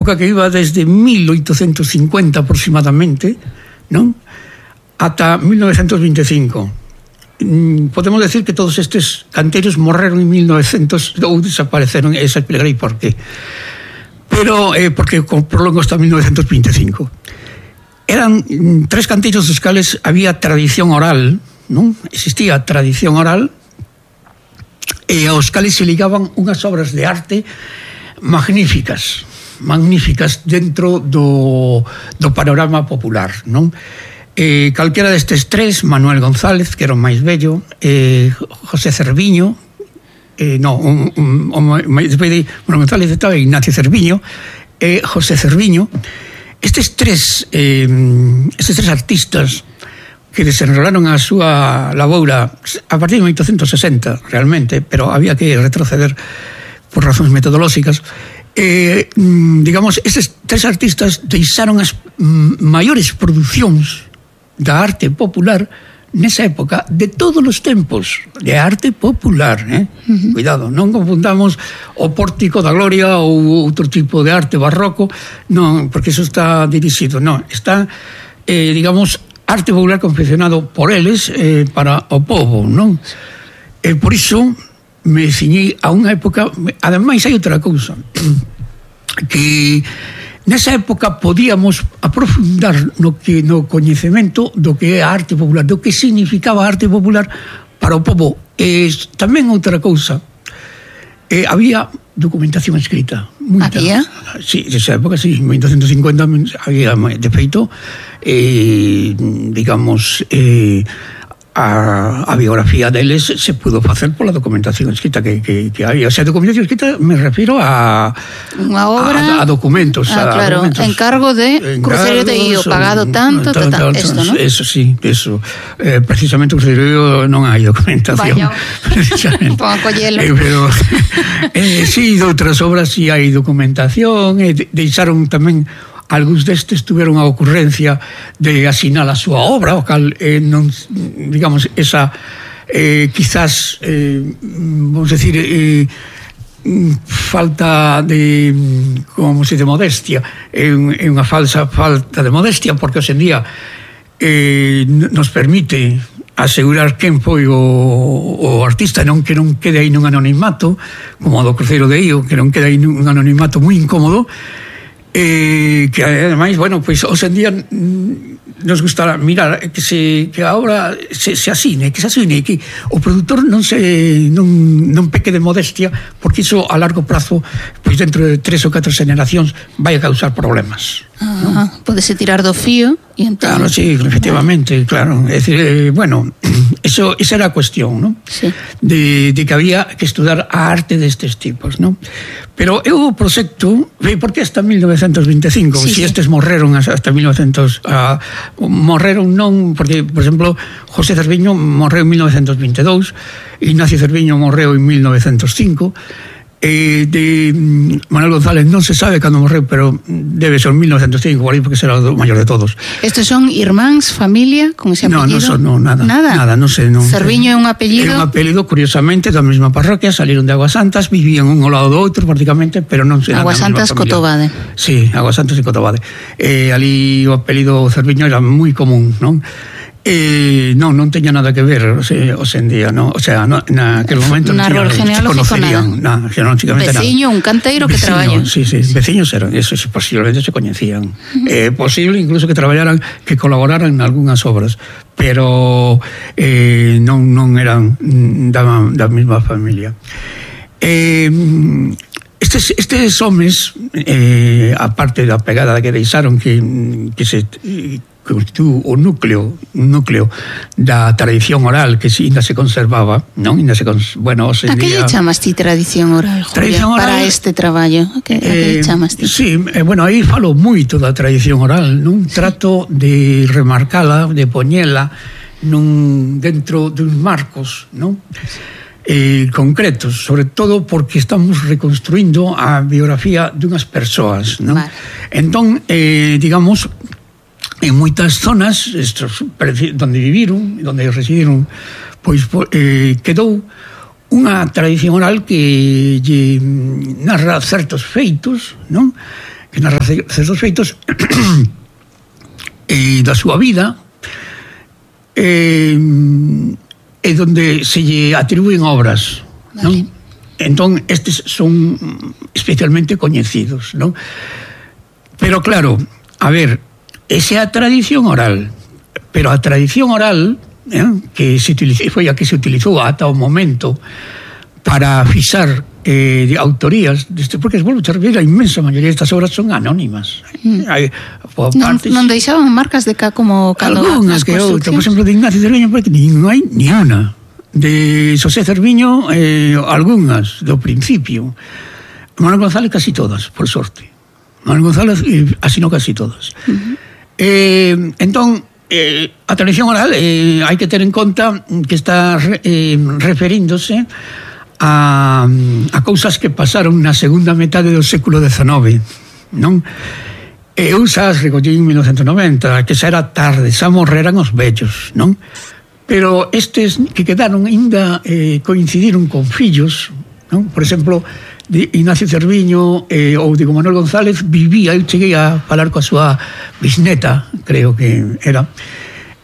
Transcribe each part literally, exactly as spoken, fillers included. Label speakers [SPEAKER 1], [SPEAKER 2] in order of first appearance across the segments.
[SPEAKER 1] que iba desde mil oitocentos cincuenta aproximadamente, non? Ata mil novecentos veinticinco. Podemos decir que todos estes canteiros morreron en mil novecientos ou desapareceron, e xa explicarei por qué. Pero, eh, porque prolongo hasta mil novecientos veinticinco. Eran tres canteiros dos cales había tradición oral, non? Existía tradición oral, e aos cales se ligaban unhas obras de arte magníficas, magníficas dentro do, do panorama popular, non? Eh, calquera destes tres, Manuel González, que era o máis bello, eh, José Cerviño, eh, no, un, un, un, despois de Manuel González estaba Ignacio Cerviño, e eh, José Cerviño. Estes tres, eh, estes tres artistas que desenrolaron a súa laboura a partir de mil oitocentos sesenta, realmente, pero había que retroceder por razóns metodolóxicas. Eh, digamos, estes tres artistas deixaron as maiores producións da arte popular nesa época de todos os tempos, de arte popular, eh? Uh-huh. Cuidado, non confundamos o Pórtico da Gloria ou outro tipo de arte barroco, non, porque eso está dirixido, non, está, eh, digamos, arte popular confeccionado por eles eh, para o povo, non? E por iso me ciñei a unha época. Ademais hai outra cousa, que nesa época podíamos aprofundar no que no coñecemento do que é a arte popular, do que significaba a arte popular para o povo. E tamén outra cousa, eh, había documentación escrita. Muita.
[SPEAKER 2] Había?
[SPEAKER 1] Sí, nesa época, sí, en mil oitocentos cincuenta había, de feito, eh, digamos, eh, A, a biografía deles se pudo facer pola documentación escrita que, que, que hai. O sea, documentación escrita me refiro a
[SPEAKER 2] unha obra,
[SPEAKER 1] a, a documentos,
[SPEAKER 2] ah,
[SPEAKER 1] a
[SPEAKER 2] claro,
[SPEAKER 1] documentos.
[SPEAKER 2] Encargo de Cruceiro de Io, pagado tanto, tal, tal, esto, ¿no?
[SPEAKER 1] Eso sí, eso. Eh, precisamente Cruceiro de Io non hai documentación.
[SPEAKER 2] Vaya, pon a collelo.
[SPEAKER 1] Eh, pero eh, sí, de outras obras sí hai documentación, e eh, deixaron tamén. Algúns destes tuveron a ocurrencia de asinar a súa obra, o cal, eh, non, digamos, esa, eh, quizás, eh, vamos decir, eh, falta de, como se de modestia, é eh, unha falsa falta de modestia, porque hoxe en día eh, nos permite asegurar quen foi o, o artista, non que non quede aí nun anonimato, como o do Cruceiro de Io, que non quede aí nun anonimato moi incómodo. Eh, que ademais, bueno, pois pues, hoxe en día nos gustará mirar que se que a obra se, se asine, que se asine, que o produtor non se non, non peque de modestia, porque iso a largo prazo, pois pues, dentro de tres ou catro generacións vai a causar problemas.
[SPEAKER 2] Ah, ¿no? Podese tirar do fío e entón...
[SPEAKER 1] Claro, sí, efectivamente, claro. É dicir, eh, bueno, eso, esa era a cuestión, ¿no?
[SPEAKER 2] Sí.
[SPEAKER 1] De, de que había que estudar a arte destes tipos, ¿no? Pero eu o proxecto, por que hasta mil novecentos veinticinco?
[SPEAKER 2] Sí,
[SPEAKER 1] si
[SPEAKER 2] sí.
[SPEAKER 1] Estes morreron hasta mil novecientos... Uh, morreron non, porque, por exemplo, José Cerviño morreu en mil novecientos veintidous, Ignacio Cerviño morreu en mil novecientos cinco, eh, de Manuel González non se sabe cando morreu, pero debe ser en mil novecientos cinco, por aí, porque será o maior de todos.
[SPEAKER 2] Estes son irmáns, familia, con ese apellido?
[SPEAKER 1] No, non son, no, nada.
[SPEAKER 2] Nada?
[SPEAKER 1] Nada, non sei. Non,
[SPEAKER 2] Cerviño é un apellido?
[SPEAKER 1] É un apellido, curiosamente, da mesma parroquia, salieron de Aguasantas, vivían un ao lado do outro, prácticamente, pero non sei.
[SPEAKER 2] Aguasantas, Cotobade.
[SPEAKER 1] Sí, Aguasantas e Cotobade. Eh, ali o apelido Cerviño era moi común, non? Eh, non, non teña nada que ver o sea, hoxe en día, no? O sea, no, na aquel momento
[SPEAKER 2] na
[SPEAKER 1] non
[SPEAKER 2] se
[SPEAKER 1] conocerían nada, xeolóxicamente nada.
[SPEAKER 2] Veciño, un canteiro que traballa.
[SPEAKER 1] Sí, sí, sí, veciños eran, eso posiblemente se coñecían. Uh-huh. Eh, posible incluso que traballaran, que colaboraran en algunhas obras, pero eh, non, non eran da, da mesma familia. Eh, estes, estes homes, eh, aparte da pegada que deixaron que, que se... constitúe o núcleo, un núcleo da tradición oral que ainda se conservaba, non? Ainda se cons... bueno, hoxe
[SPEAKER 2] en día... A que lle chamas ti tradición oral, Julia, tradición oral, para este traballo? A que, a que lle chamas ti?
[SPEAKER 1] Sí, eh, bueno, aí falo moito da tradición oral, non? Sí. Trato de remarcala, de poñela nun, dentro duns marcos, non? Eh, concretos, sobre todo porque estamos reconstruindo a biografía dunhas persoas, non? Vale. Entón, eh, digamos, en moitas zonas estos, donde viviron, donde residiron, pois eh, quedou unha tradición oral que lle narra certos feitos, non? que narra certos feitos e da súa vida, e, e donde se lle atribúen obras, vale. Non? Entón, estes son especialmente coñecidos, non? Pero claro, a ver, esa é a tradición oral, pero a tradición oral, eh, que se utilizou, foi a que se utilizou ata o momento para fixar eh, de autorías, deste, porque, bueno, a inmensa maioría destas obras son anónimas.
[SPEAKER 2] Mm. Hai, non, partes, non deixaban marcas de cá como cando
[SPEAKER 1] algunhas que outra, por exemplo, de Ignacio Cerviño, porque non hai ni una. De Xosé Cerviño, eh, algunhas do principio. Manuel González casi todas, por sorte. Manuel González eh, asinou casi todas. Uh-huh. eh, entón, eh, a tradición oral eh, hai que ter en conta que está eh, referíndose a, a cousas que pasaron na segunda metade do século dezenove, non? E eu xa as recollín en mil novecentos noventa, que xa era tarde, xa morreran os vellos, non? Pero estes que quedaron ainda eh, coincidiron con fillos, non? Por exemplo, de Ignacio Cerviño eh, ou de Manuel González vivía, eu cheguei a falar coa súa bisneta, creo que era,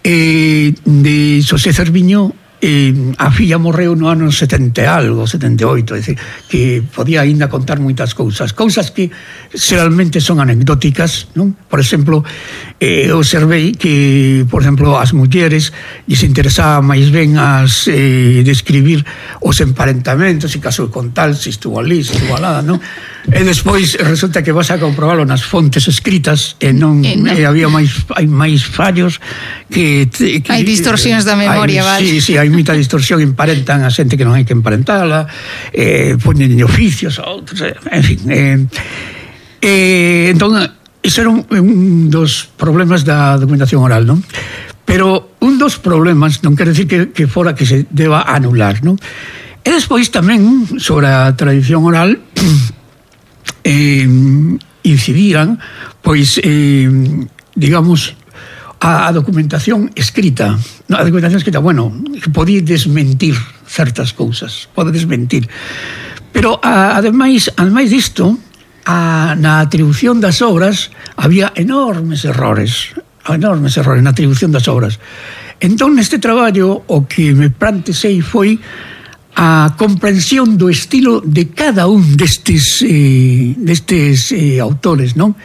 [SPEAKER 1] eh, de Xosé Cerviño, eh, a filla morreu no ano setenta e algo, setenta e oito, é dicir, que podía ainda contar moitas cousas, cousas que xeralmente son anecdóticas, non? Por exemplo, eh, observei que, por exemplo, as mulleres lles interesaba máis ben as eh, describir os emparentamentos, se casou con tal, se estuvo ali, se estuvo alada, non? E despois resulta que vas a comprobalo nas fontes escritas e non, eh, no. e había máis hai máis fallos que, que
[SPEAKER 2] hai distorsións da memoria,
[SPEAKER 1] hai,
[SPEAKER 2] vale.
[SPEAKER 1] Sí, sí, hai moita distorsión, emparentan a xente que non hai que emparentala, eh, ponen oficios a outros, en fin. Eh, eh, entón, iso era un, un dos problemas da documentación oral, non? Pero un dos problemas non quere decir que, que fora que se deba anular, non? E despois tamén, sobre a tradición oral, eh, incidían, pois, eh, digamos, a, a documentación escrita. A documentación escrita, bueno, que podía desmentir certas cousas, pode desmentir. Pero, a, ademais, ademais disto, a, na atribución das obras había enormes errores, enormes errores na atribución das obras. Entón, neste traballo, o que me plantexei foi a comprensión do estilo de cada un destes, eh, destes eh, autores, non?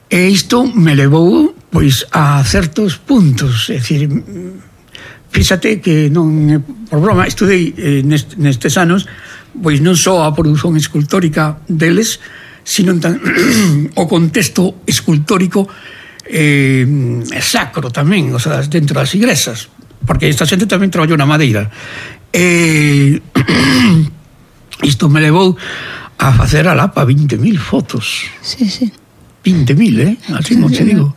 [SPEAKER 1] E isto me levou, pois, a certos puntos, é dicir, fíxate que non, por broma, estudei eh, nest, nestes anos, pois non só a produción escultórica deles, sino tan, o contexto escultórico eh, sacro tamén, o sea, dentro das igrexas, porque esta xente tamén traballou na madeira. E isto me levou a facer a Lapa vinte mil fotos.
[SPEAKER 2] Sí, sí.
[SPEAKER 1] vinte mil, eh? Así non te digo.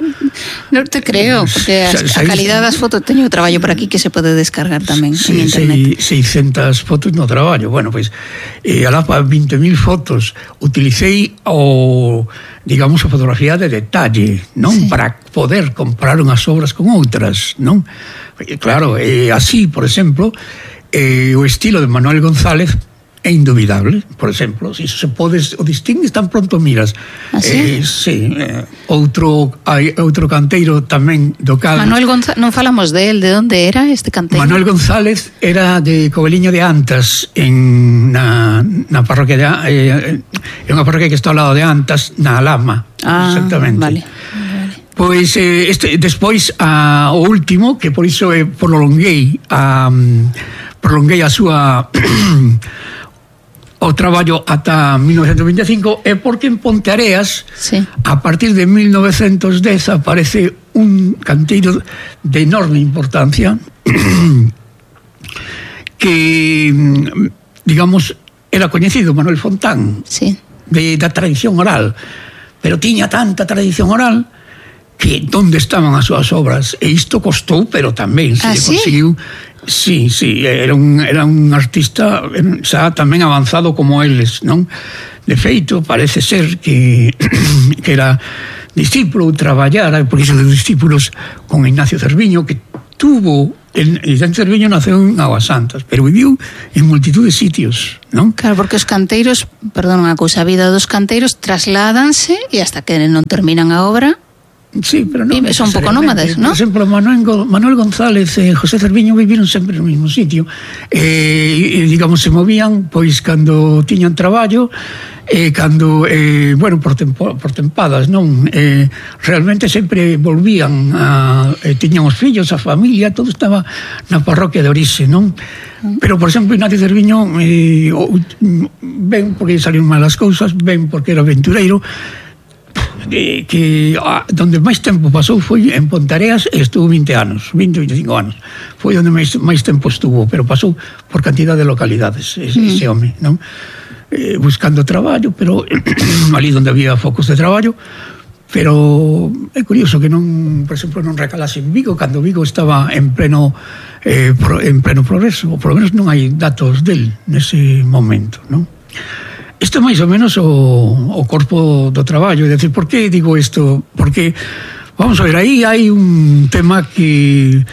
[SPEAKER 2] Non te creo, porque a, a calidad das fotos, teño traballo por aquí que se pode descargar tamén sí, en internet. seiscentas fotos no traballo. Bueno, pois, eh, a Lapa vinte mil fotos, utilicei o, digamos, a fotografía de detalle, non? Sí. Para poder comparar unhas obras con outras, non? E, claro, eh, así, por exemplo, eh, o estilo de Manuel González é indubidable, por exemplo, se iso se podes o distingues tan pronto miras. ¿Ah, sí?
[SPEAKER 1] Eh, sí, eh, outro hai outro canteiro tamén do cal.
[SPEAKER 2] Manuel González, non falamos de él, de onde era este canteiro?
[SPEAKER 1] Manuel González era de Coveliño de Antas, en na, na parroquia de eh, é unha parroquia que está ao lado de Antas, na Alhama.
[SPEAKER 2] Ah,
[SPEAKER 1] exactamente.
[SPEAKER 2] Vale.
[SPEAKER 1] Pois eh, este, despois a, o último, que por iso eh, prolonguei a prolonguei a súa o traballo ata mil novecentos vinte e cinco, é porque en Ponteareas, sí, a partir de mil novecentos dez aparece un canteiro de enorme importancia que, digamos, era coñecido, Manuel Fontán,
[SPEAKER 2] sí,
[SPEAKER 1] de, da tradición oral, pero tiña tanta tradición oral que onde estaban as súas obras, e isto costou, pero tamén se
[SPEAKER 2] ¿Ah,
[SPEAKER 1] sí?
[SPEAKER 2] conseguiu.
[SPEAKER 1] Sí, sí, era un, era un artista xa tamén avanzado como eles, non? De feito, parece ser que, que era discípulo, traballara, por iso de discípulos con Ignacio Cerviño, que estuvo en Icente Cerviño, naceu en Aguas Santas, pero viviu en multitud de sitios, non?
[SPEAKER 2] Claro, porque os canteiros, perdón, unha cousa, a vida dos canteiros trasládanse e hasta que non terminan a obra.
[SPEAKER 1] Sí, pero non
[SPEAKER 2] son un pouco nómades, ¿no?
[SPEAKER 1] Por exemplo, Manuel, Manuel González e José Cerviño viviron sempre no mesmo sitio. Eh, digamos, se movían pois cando tiñan traballo, eh, cando, eh, bueno, por, tempo, por tempadas, non? Eh, realmente sempre volvían, a, eh, tiñan os fillos, a familia, todo estaba na parroquia de orixe, non? Pero, por exemplo, Ignacio Cerviño, eh, ben porque salieron malas cousas, ben porque era aventureiro, que, que a, donde máis tempo pasou foi en Pontareas e estuvo vinte anos, vinte, veinticinco anos. Foi onde máis, máis tempo estuvo, pero pasou por cantidad de localidades ese, mm. ese home, non? Eh, buscando traballo, pero ali onde había focos de traballo, pero é curioso que non, por exemplo, non recalase en Vigo, cando Vigo estaba en pleno eh, pro, en pleno progreso, ou por lo menos non hai datos del nese momento, non? Isto é máis ou menos o, o corpo do traballo, é dicir, por que digo isto? Porque, vamos a ver, aí hai un tema que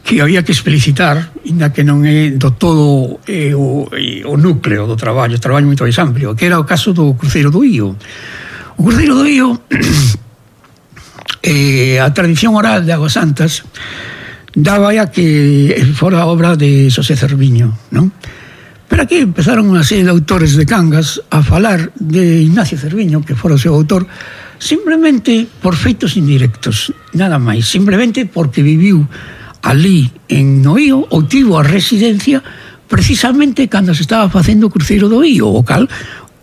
[SPEAKER 1] que había que explicitar, ainda que non é do todo eh, o, o núcleo do traballo, o traballo moito máis amplio, que era o caso do cruceiro do Ío. O cruceiro do Ío, eh, a tradición oral de Aguas Santas daba a que fora obra de Xosé Cerviño, non? Pero aquí empezaron unha serie de autores de Cangas a falar de Ignacio Cerviño, que fora o seu autor, simplemente por feitos indirectos, nada máis, simplemente porque viviu ali en Noío ou tivo a residencia precisamente cando se estaba facendo o cruceiro do Ío, o cal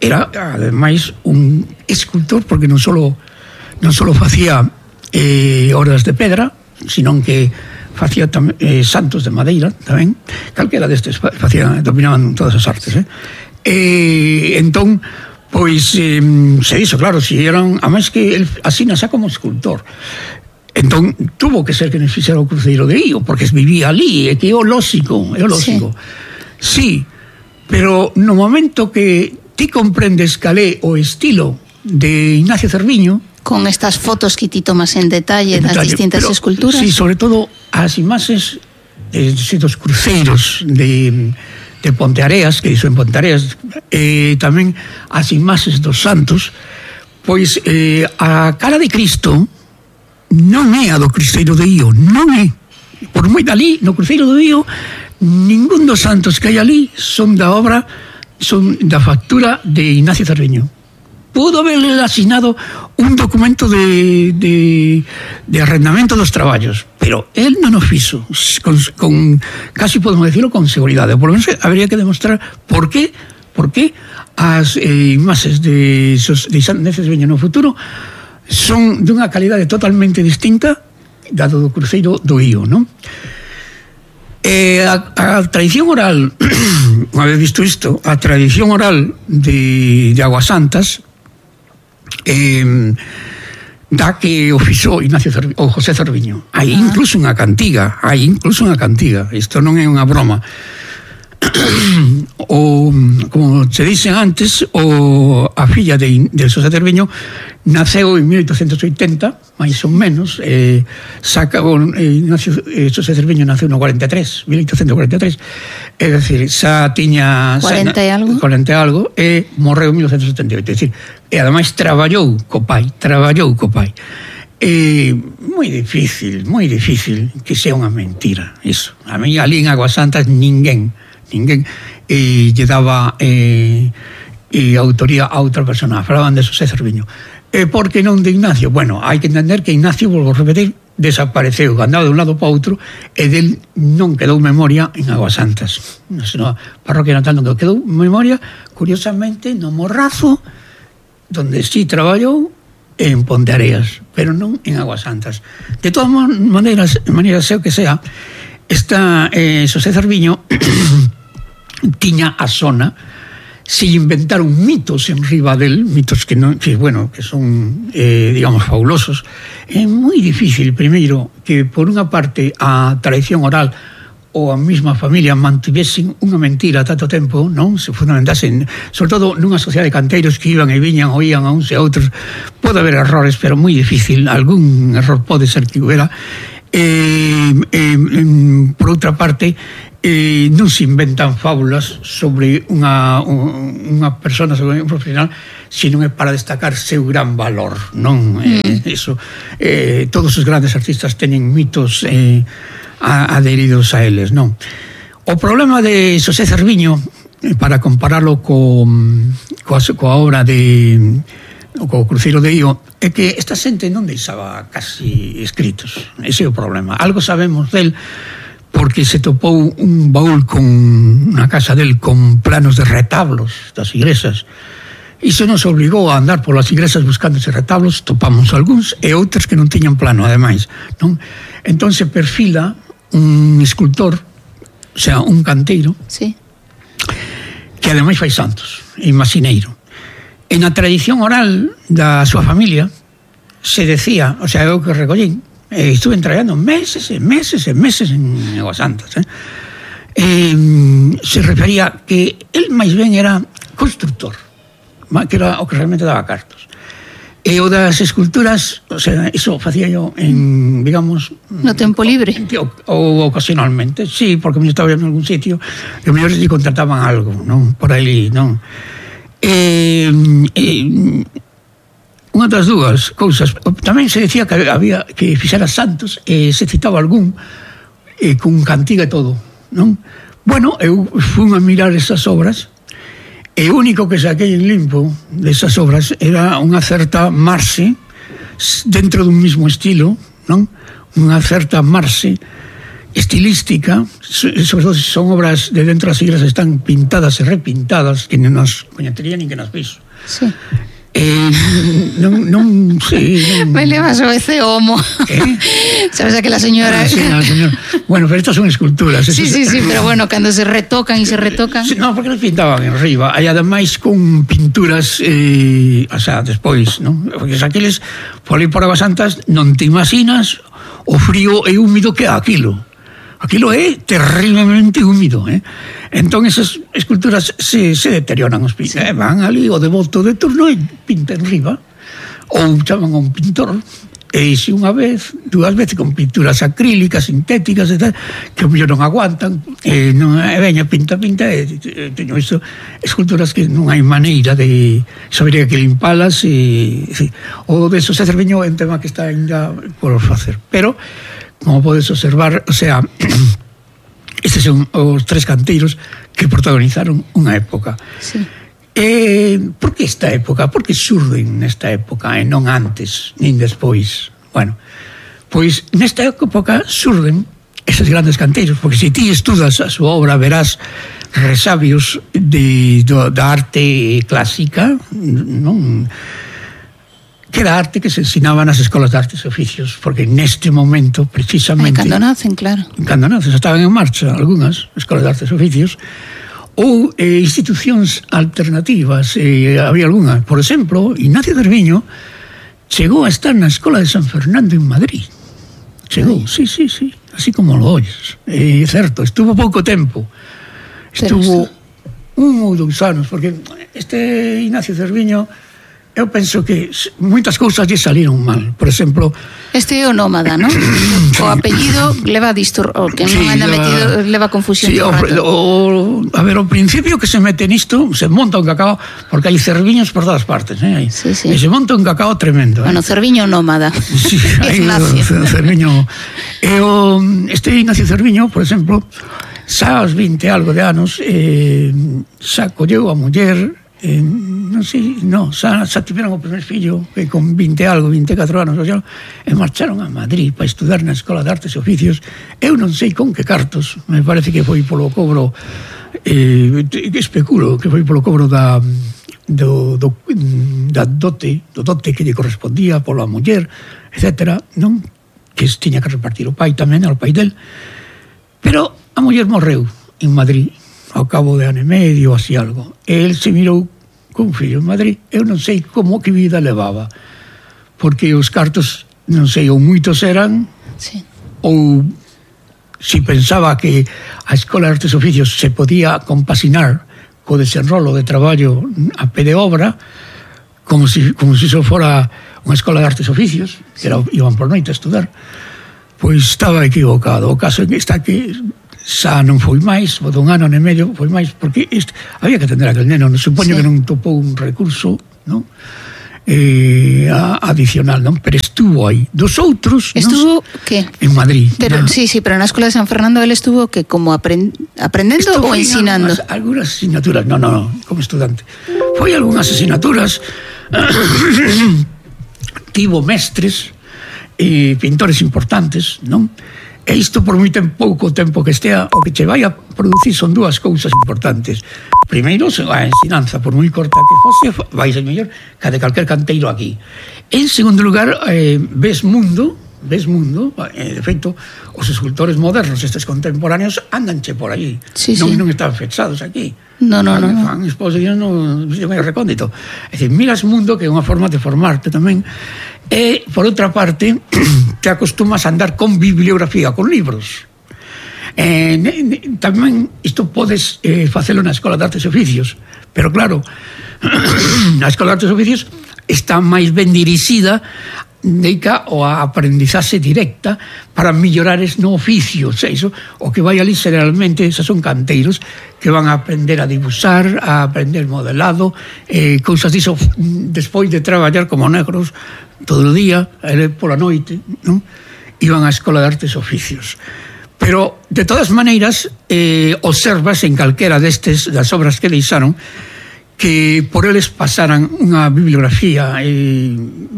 [SPEAKER 1] era, ademais, un escultor, porque non só non só facía eh, obras de pedra, senón que facía tam, eh, santos de madeira tamén, calquera destes facía, dominaban todas as artes, eh? E entón, pois eh, se dixo, claro, si eran, a máis que el asina xa como escultor, entón tuvo que ser que nos fixera o cruceiro de Ío, porque vivía ali, e que é o lóxico, é o lóxico. Sí. sí, pero no momento que ti comprendes cal é o estilo de Ignacio Cerviño,
[SPEAKER 2] con estas fotos que ti tomas en detalle, en das detalle, distintas pero, esculturas.
[SPEAKER 1] Sí, sobre todo as imaxes eh, dos cruceiros de, de Ponteareas, que iso en Ponteareas, eh, tamén as imaxes dos santos, pois eh, a cara de Cristo non é a do cruceiro de Ío, non é. Por moi dali, no cruceiro do Ío, ningún dos santos que hai ali son da obra, son da factura de Ignacio Cerviño. Pudo haberle asignado un documento de, de, de arrendamento dos traballos, pero él non o fixo, con, con, casi podemos decirlo con seguridade. Por lo menos habría que demostrar por qué, por qué as eh, imaxes de, de Ignacio Cerviño no futuro son dunha calidade totalmente distinta dado do cruceiro do Ío, non? Eh, a, a tradición oral, unha vez visto isto, a tradición oral de, de Aguas Santas, Eh, da que o fixo Ignacio Cerviño, ou José Cerviño. Hai incluso unha cantiga, hai incluso unha cantiga. Isto non é unha broma. O, como se dicen antes, o, a filla de, de Xosé Cerviño naceu en mil oitocentos oitenta, máis ou menos, eh, saca, o, eh, Ignacio, eh, Xosé Cerviño naceu no cuarenta e tres, mil oitocentos cuarenta e tres, é dicir, xa tiña
[SPEAKER 2] cuarenta e algo,
[SPEAKER 1] cuarenta e algo, e morreu en mil oitocentos setenta e oito, é dicir, e ademais traballou co pai, traballou co pai. É moi difícil, moi difícil que sea unha mentira, iso. A mí ali en Aguas Santas ninguén ninguén eh, lle daba eh, eh, autoría a outra persona, falaban de Xosé Cerviño. E eh, por que non de Ignacio? Bueno, hai que entender que Ignacio, volvo a repetir, desapareceu, andaba de un lado para outro, e del non quedou memoria en Aguas Santas. Na parroquia natal non quedou memoria, curiosamente, no Morrazo, donde sí traballou, en Ponteareas, pero non en Aguas Santas. De todas maneiras, maneira sea o que sea, esta eh, Xosé Cerviño tiña a zona, se inventaron mitos en riba del, mitos que non, que bueno, que son eh, digamos fabulosos. É moi difícil, primeiro, que por unha parte a tradición oral ou a mesma familia mantivesen unha mentira tanto tempo, non? Se fundamentasen, sobre todo nunha sociedade de canteiros que iban e viñan, oían a uns e a outros. Pode haber errores, pero moi difícil, algún error pode ser que hubiera. eh, eh, por outra parte, eh, non se inventan fábulas sobre unha, unha persona, sobre un profesional, sino é para destacar seu gran valor, non? Mm. Eh, eso, eh, todos os grandes artistas teñen mitos eh, adheridos a eles, non? O problema de Xosé Cerviño, para compararlo co, coa, coa obra de co Cruceiro de Io, é que esta xente non deixaba casi escritos. Ese é o problema. Algo sabemos del porque se topou un baúl con na casa del con planos de retablos das igrexas. Iso nos obligou a andar polas igrexas buscando eses retablos, topamos algúns e outros que non tiñan plano, ademais, non? Entón se perfila un escultor, o sea, un canteiro,
[SPEAKER 2] sí,
[SPEAKER 1] que ademais fai santos, imaxineiro. En a tradición oral da súa familia se decía, o sea, eu que recollín, eh, estuve traballando meses e meses e meses en Aguas Santas, eh? Eh, se refería que el máis ben era constructor, que era o que realmente daba cartos. E o das esculturas, o sea, iso facía yo en, digamos...
[SPEAKER 2] No tempo libre?
[SPEAKER 1] O, ou ocasionalmente, sí, porque me estaba en algún sitio e mellor se contrataban algo, non? Por aí, non? Eh, eh, unha das dúas cousas, tamén se decía que había que fixera santos e se citaba algún eh, con cantiga e todo, non? Bueno, eu fui a mirar esas obras e o único que saquei en limpo desas obras era unha certa marxe dentro dun mismo estilo, non? Unha certa marxe estilística, sobre todo se son obras de dentro das iglesias, están pintadas e repintadas, que non nos coñecería nin que nas viso.
[SPEAKER 2] Sí.
[SPEAKER 1] Eh, non, non sei non...
[SPEAKER 2] Me levas o ese homo, eh? Sabes aquela señora?
[SPEAKER 1] Ah, sí, no, señor. Bueno, pero estas son esculturas.
[SPEAKER 2] Sí, sí, sí, pero bueno, cando se retocan e se retocan.
[SPEAKER 1] Sí, no, porque las pintaban en riba. Hai ademais con pinturas eh, o sea, despois, non? Porque aqueles por aí por Aguas Santas non te imaginas o frío e húmido que é aquilo. Aquilo é terriblemente húmido, eh? Entón esas esculturas se, se deterioran os pintos, eh? Van ali o devoto de turno e pintan riba, ou chaman a un pintor, e se unha vez, dúas veces con pinturas acrílicas, sintéticas e tal, que mellor non aguantan, e non é veña, pinta, pinta, e, e teño isto, esculturas que non hai maneira de saber que limpalas, e, e o de Xosé Cerviño é un tema que está ainda por facer, pero como podes observar, o sea, estes son os tres canteiros que protagonizaron unha época.
[SPEAKER 2] Sí.
[SPEAKER 1] Eh, por que esta época? Por que xurden nesta época e non antes, nin despois? Bueno, pois nesta época xurden eses grandes canteiros, porque se ti estudas a súa obra verás resabios de, do, da arte clásica, non? Que era arte que se ensinaba nas escolas de artes e oficios, porque neste momento, precisamente...
[SPEAKER 2] Ay, cando nacen, claro.
[SPEAKER 1] Cando nacen, estaban en marcha algunhas escolas de artes e oficios, ou eh, institucións alternativas, eh, había algunha. Por exemplo, Ignacio Cerviño chegou a estar na Escola de San Fernando en Madrid. Chegou, sí, sí, sí, así como lo oyes. É eh, certo, estuvo pouco tempo. Estuvo un ou dous anos, porque este Ignacio Cerviño... Eu penso que moitas cousas lle saliron mal. Por exemplo...
[SPEAKER 2] Este é o nómada, non? O apellido leva distor... O que non sí, anda metido leva confusión.
[SPEAKER 1] Sí, o, o, a ver, o principio que se mete nisto, se monta un cacao, porque hai cerviños por todas partes, eh?
[SPEAKER 2] Sí, sí.
[SPEAKER 1] E se monta un cacao tremendo.
[SPEAKER 2] Bueno, eh? Cerviño nómada.
[SPEAKER 1] Sí, hai o Cerviño... E o, este Ignacio Cerviño, por exemplo, xa aos vinte algo de anos, eh, xa colleu a muller... Eh, non sei, no, xa, xa tiveron o primer fillo que con vinte algo, vinte e catro anos o xa, e marcharon a Madrid para estudar na Escola de Artes e Oficios. Eu non sei con que cartos, me parece que foi polo cobro eh, que especulo que foi polo cobro da do, do, da dote do dote que lle correspondía pola muller, etcétera, non? Que tiña que repartir o pai tamén, ao pai del, pero a muller morreu en Madrid ao cabo de ano e medio, así algo. E el se mirou con fillo en Madrid. Eu non sei como que vida levaba, porque os cartos, non sei, ou moitos eran,
[SPEAKER 2] sí,
[SPEAKER 1] ou si pensaba que a Escola de Artes e Oficios se podía compasinar co desenrolo de traballo a pé de obra, como si, como si eso fora unha Escola de Artes e Oficios, que era, iban por noite a estudar. pois estaba equivocado. O caso está que xa non foi máis, botou un ano e medio, foi máis, porque este, había que atender a aquel neno, non supoño sí. que non topou un recurso, non? Eh, adicional, non? Pero estuvo aí. Dos outros,
[SPEAKER 2] estuvo,
[SPEAKER 1] ¿no?
[SPEAKER 2] que?
[SPEAKER 1] En Madrid.
[SPEAKER 2] Pero, sí, sí, pero na Escola de San Fernando él estuvo que como aprend, aprendendo Esto ou ensinando?
[SPEAKER 1] Algunas, algunas asignaturas, no, no, no, como estudante. Foi algunhas asignaturas, tivo mestres e pintores importantes, non? E isto por moi pouco tempo que estea, o que che vai a producir son dúas cousas importantes. Primeiro, a ensinanza, por moi corta que fose, vai ser mellor que a de calquer canteiro aquí. En segundo lugar, eh, ves mundo, ves mundo, eh, de feito, os escultores modernos, estes contemporáneos, andanche por aí.
[SPEAKER 2] Sí,
[SPEAKER 1] non,
[SPEAKER 2] sí.
[SPEAKER 1] non están fechados aquí.
[SPEAKER 2] No, no, no.
[SPEAKER 1] Fan exposición no, no recóndito. É dicir, miras mundo, que é unha forma de formarte tamén. E, por outra parte, te acostumas a andar con bibliografía, con libros. Eh, tamén isto podes eh, facelo na Escola de Artes e Oficios, pero claro, na Escola de Artes e Oficios está máis ben dirixida dedica ao aprendizaxe directa para mellorares no oficio. O sea, iso, o que vai ali generalmente, esos son canteiros que van a aprender a dibuixar, a aprender modelado, eh, cousas diso despois de traballar como negros todo o día, e pola noite, non? Iban á Escola de Artes e Oficios. Pero, de todas maneiras, eh, observas en calquera destes das obras que deixaron que por eles pasaran unha bibliografía, eh,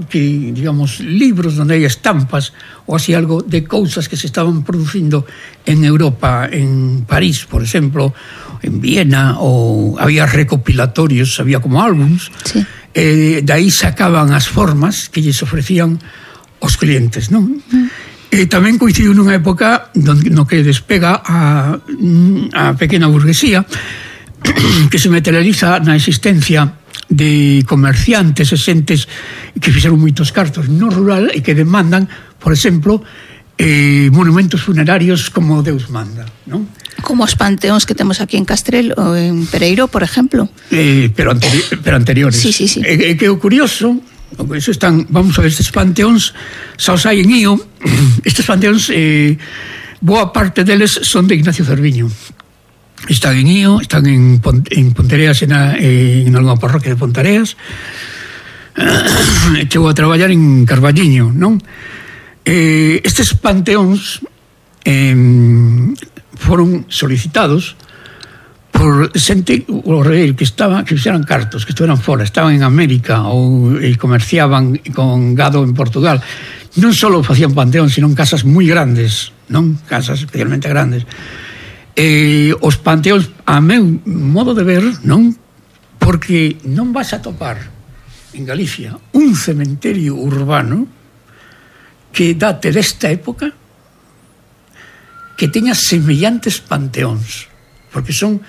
[SPEAKER 1] que, digamos, libros onde hai estampas ou así algo de cousas que se estaban producindo en Europa, en París, por exemplo, en Viena, ou había recopilatorios, había como álbums, sí. eh, de aí sacaban as formas que lles ofrecían os clientes, non? Mm. E tamén coincidiu nunha época no que despega a, a pequena burguesía, que se materializa na existencia de comerciantes e xentes que fixeron moitos cartos no rural e que demandan, por exemplo, eh, monumentos funerarios como Deus manda, non?
[SPEAKER 2] Como os panteóns que temos aquí en Castrel ou en Pereiro, por exemplo.
[SPEAKER 1] Eh, pero, anteri pero anteriores.
[SPEAKER 2] Sí, sí, sí.
[SPEAKER 1] E eh, que o curioso, eso están, vamos a ver, estes panteóns xa os hai en Ío. Estes panteóns, eh, boa parte deles son de Ignacio Cerviño. Están en Ío, están en, Pont en Pontereas, en, a, en alguna parroquia de Pontareas. Chegou a traballar en Carballiño, non? Eh, estes panteóns eh, foron solicitados por xente, o rei, que estaba, que fixeran cartos, que estuveran fora, estaban en América ou e comerciaban con gado en Portugal. Non só facían panteóns, sino casas moi grandes, non? Casas especialmente grandes. Eh, os panteóns, a meu modo de ver, non? Porque non vas a topar en Galicia un cementerio urbano que date desta época que teña semellantes panteóns, porque son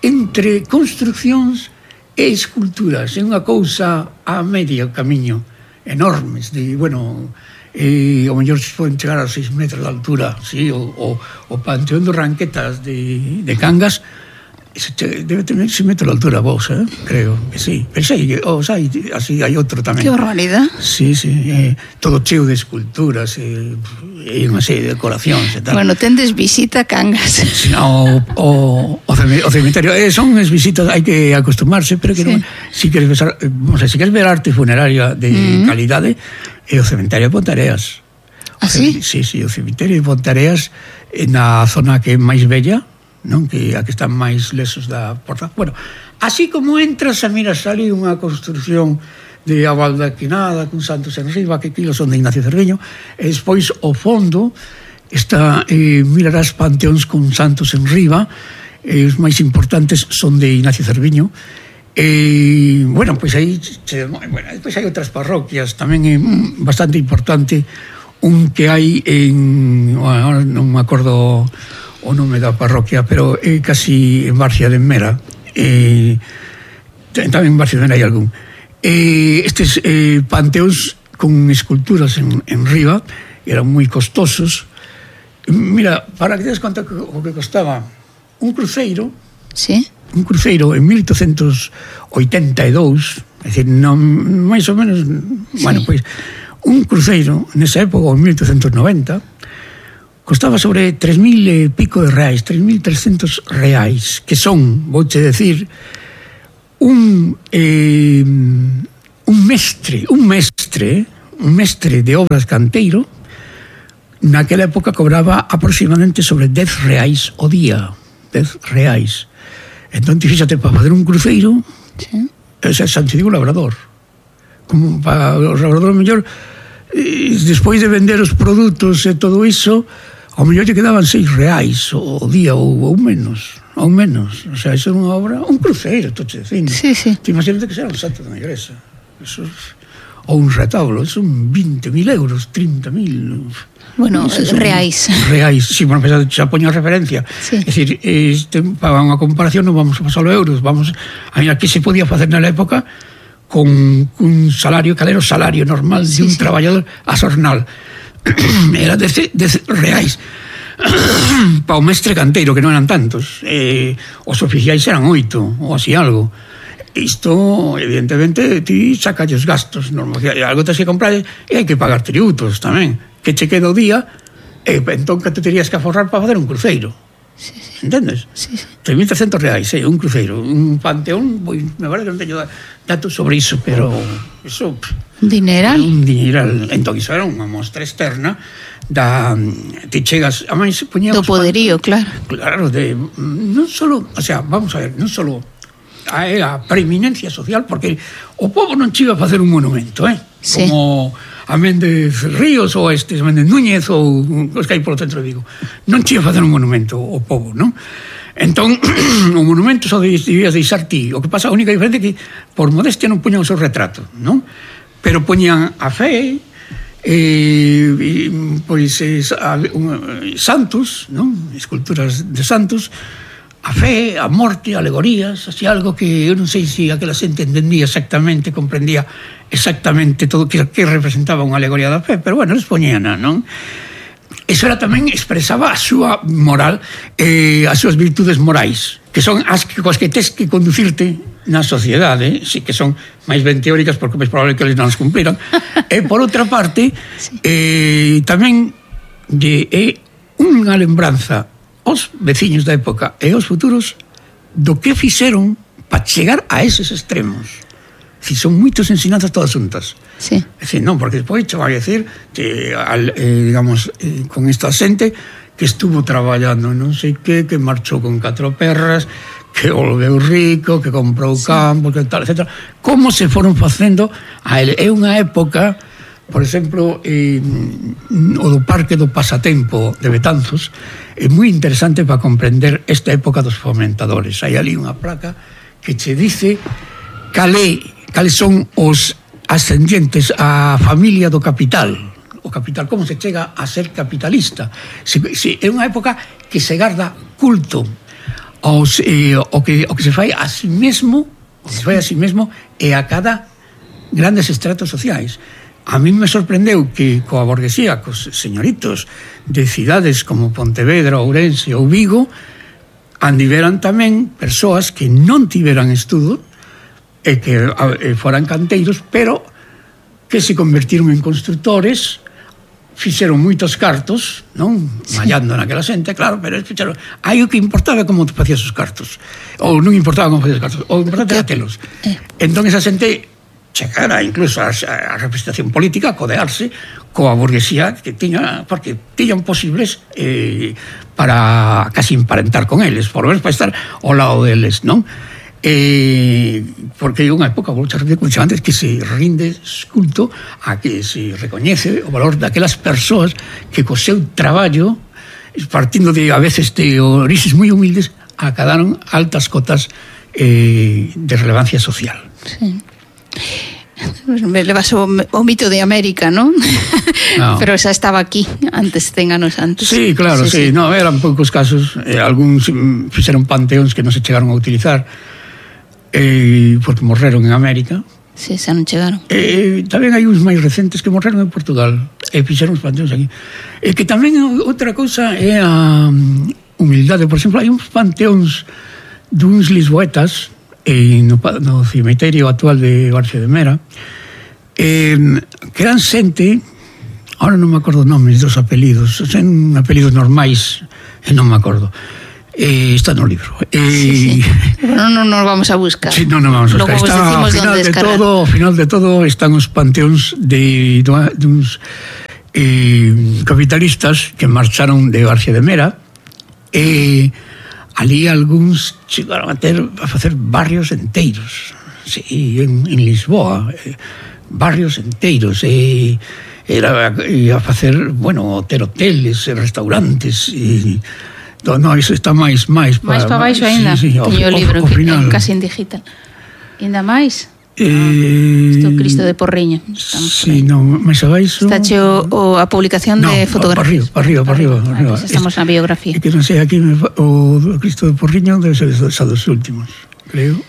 [SPEAKER 1] entre construccións e esculturas, é unha cousa a medio camiño, enormes, de, bueno, eh, o mellor se poden chegar a seis metros de altura, sí, o, o, o Panteón de Ranquetas de, de Cangas debe tener seis metros de altura vos, eh? Creo que sí, pero sí, o sea, así hai outro tamén.
[SPEAKER 2] Que barbaridad.
[SPEAKER 1] Sí, sí, eh, todo cheo de esculturas e eh, unha serie de decoracións e tal.
[SPEAKER 2] Bueno, tendes visita Cangas.
[SPEAKER 1] Sí, o, o, o cemiterio, eh, son as visitas, hai que acostumarse, pero que sí. Non, si queres ver, o sea, si queres ver arte funeraria de mm. calidade, é o cemiterio de Pontareas.
[SPEAKER 2] Ah, sí?
[SPEAKER 1] Sí, sí, o cemiterio de Pontareas na zona que é máis bella, non, que a que están máis lesos da porta. Bueno, así como entras a miras ali unha construcción de abaldaquinada con santos en riba, que aquilo son de Ignacio Cerviño, e despois ao fondo está, eh, mirarás panteóns con santos en riba, e os máis importantes son de Ignacio Cerviño. E, bueno, pois aí, bueno, despois hai outras parroquias, tamén é bastante importante un que hai en, bueno, non me acordo o nome da parroquia, pero é casi en Barcia de Mera, e tamén en Barcia de Mera hai algún. E estes eh, panteóns con esculturas en, en riba eran moi costosos. Mira, para que te des conta o que costaba un cruceiro,
[SPEAKER 2] sí,
[SPEAKER 1] un cruceiro en mil oitocentos oitenta e dous, é dicir, non, máis ou menos, sí. Bueno, pois un cruceiro nesa época, en mil oitocentos noventa, costaba sobre tres mil e pico de reais, tres mil trescentos reais, que son, vouche decir, un eh, un mestre, un mestre, un mestre de obras canteiro, naquela época cobraba aproximadamente sobre dez reais o día, dez reais. Entón, fíxate, para fazer un cruceiro, sí. Ese é Santiago Labrador. Como para o labrador mellor, despois de vender os produtos e todo iso, ao mellor lle quedaban seis reais o día ou, ou menos, ou menos. O sea, iso é unha obra, un cruceiro, estou che dicindo.
[SPEAKER 2] Sí, sí.
[SPEAKER 1] Te imagínate que será un santo da igrexa. Eso, ou un retablo, son vinte mil euros, trinta mil...
[SPEAKER 2] Bueno, reais.
[SPEAKER 1] Reais, sí, bueno, xa poño a referencia. Sí. É dicir, este, para unha comparación non vamos a pasar os euros, vamos a mirar que se podía facer na época con un salario, cal era o salario normal de un sí, sí. traballador a xornal. Era de, de reais. Para o mestre canteiro, que non eran tantos. Eh, os oficiais eran oito, ou así algo. Isto, evidentemente, ti saca os gastos. Normal, algo tens que comprar e hai que pagar tributos tamén. Que che queda o día, e entón que te terías que aforrar para fazer un cruceiro. Sí, sí. Entendes? Sí, sí. tres mil trescentos reais, eh, un cruceiro. Un panteón, voy, me parece que non teño datos sobre iso, pero iso...
[SPEAKER 2] Dineral?
[SPEAKER 1] Un dineral. Entón, iso era unha mostra externa da... Te chegas... A máis,
[SPEAKER 2] do poderío, claro.
[SPEAKER 1] Claro, de... Non solo... O sea, vamos a ver, non solo a, a preeminencia social, porque o povo non chiva a facer un monumento, eh? Sí. Como... a Méndez Ríos ou a estes Méndez Núñez ou os que hai polo centro de Vigo. Non che facer un monumento ao povo, non? Entón, o monumento só debías deixar ti. O que pasa, a única diferencia é que por modestia non puñan o seu retrato, non? Pero poñan a fe, eh, pois eh, santos, non? Esculturas de santos, a fe, a morte, alegorías, así algo que eu non sei se aquela xente entendía exactamente, comprendía exactamente todo que, que representaba unha alegoría da fe, pero bueno, les poñían, non? Eso era tamén, expresaba a súa moral, eh, as súas virtudes morais, que son as que, cos que tes que conducirte na sociedade, sí que son máis ben teóricas porque é probable que eles non as cumpliran, e por outra parte, eh, tamén de, é unha lembranza os veciños da época e os futuros do que fixeron para chegar a eses extremos. Si son moitas ensinanzas todas xuntas.
[SPEAKER 2] Sí.
[SPEAKER 1] É dicir, non, porque despois che vai a decir que, al, eh, digamos, eh, con esta xente que estuvo traballando non sei que, que marchou con catro perras, que volveu rico, que comprou sí. campo, que tal, etcétera. Como se foron facendo a ele. É unha época, por exemplo, eh, o do Parque do Pasatempo de Betanzos, é moi interesante para comprender esta época dos fomentadores. Hai ali unha placa que che dice cale, cales son os ascendientes á familia do capital. O capital, como se chega a ser capitalista. Se, se, é unha época que se garda culto aos, eh, o, que, o que se fai a si mesmo, o que se fai a si mesmo e a cada grandes estratos sociais. A mí me sorprendeu que coa burguesía, cos señoritos de cidades como Pontevedra, Ourense ou Vigo, andiveran tamén persoas que non tiveran estudo e que e foran canteiros, pero que se convertiron en constructores, fixeron moitos cartos, non? Sí. Mallando naquela xente, claro, pero fixeron, aí o que importaba como facías os cartos, ou non importaba como facías os cartos, o importante era telos. Entón esa xente chegara incluso a, a representación política a codearse coa burguesía que tiña, porque tiñan posibles eh, para casi emparentar con eles, por lo menos para estar ao lado deles, non? Eh, porque é unha época, vou xa repetir como antes, que se rinde culto a que se recoñece o valor daquelas persoas que co seu traballo, partindo de a veces de orixes moi humildes, acadaron altas cotas eh, de relevancia social.
[SPEAKER 2] Sí. Me levas o, o mito de América, ¿no? No. Pero xa estaba aquí antes, cen anos antes.
[SPEAKER 1] Sí, claro, sí, sí. sí. No, eran poucos casos, eh, algúns fixeron panteóns que non se chegaron a utilizar eh, porque morreron en América.
[SPEAKER 2] Sí, xa non chegaron.
[SPEAKER 1] Eh, tamén hai uns máis recentes que morreron en Portugal e fixeron os panteóns aquí. E que tamén outra cousa é a humildade. Por exemplo, hai uns panteóns duns lisboetas e no, no cemiterio actual de Barcio de Mera, eh, que eran xente, Ahora non me acordo nomes dos apelidos, son apelidos normais e non me acordo. Eh, está no libro. Eh,
[SPEAKER 2] sí, sí. Bueno, non nos vamos a buscar.
[SPEAKER 1] Sí, non nos vamos a buscar. Está, ao final de todo, ao final de todo están os panteóns de, de uns eh, capitalistas que marcharon de García de Mera e ali algúns chegaron a ter a facer barrios enteiros. Sí, en, en Lisboa, eh, barrios enteiros e era e a facer, bueno, ter hoteles, restaurantes e no, no, iso está máis máis
[SPEAKER 2] para máis para baixo aínda. Sí, sí, teño o libro que é casi en digital. Ainda máis?
[SPEAKER 1] Eh,
[SPEAKER 2] Isto Cristo de Porriño.
[SPEAKER 1] Sí, no, máis abaixo.
[SPEAKER 2] Está cheo o, a publicación no, de fotografías.
[SPEAKER 1] Para arriba, para arriba, para arriba.
[SPEAKER 2] Pues estamos na biografía.
[SPEAKER 1] É que non sei, aquí o Cristo de Porriño debe ser xa dos últimos, creo.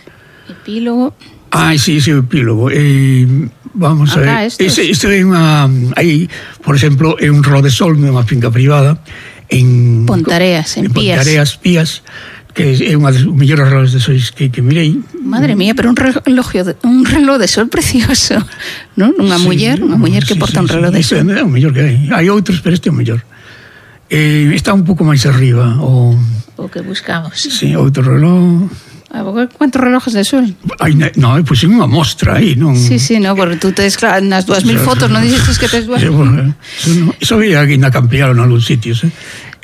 [SPEAKER 2] Epílogo.
[SPEAKER 1] Ah, sí, ese epílogo. Eh, vamos
[SPEAKER 2] Acá,
[SPEAKER 1] a ver. Este, este é unha aí, por exemplo, é un rolo de sol nunha finca privada en
[SPEAKER 2] Pontareas, en, en Pías.
[SPEAKER 1] Pontareas, Pías, que é unha das mellores relojes de sol que, que mirei.
[SPEAKER 2] Madre mía, pero un reloj de, un reloj de sol precioso, non? Unha sí, muller, unha muller que sí, porta sí, un reloj sí, de sol.
[SPEAKER 1] É o mellor que hai. Hai outros, pero este é o mellor. Eh, está un pouco máis arriba o
[SPEAKER 2] o que buscamos.
[SPEAKER 1] Sí, outro reloj.
[SPEAKER 2] ¿Cuántos relojes de sol?
[SPEAKER 1] Ay, no, pues en unha mostra aí, non?
[SPEAKER 2] Sí, sí, no, porque tú tes, claro, nas dúas mil fotos, non dices que tes dúas mil.
[SPEAKER 1] Bueno, eso había que ainda ampliaron en algún sitios, eh?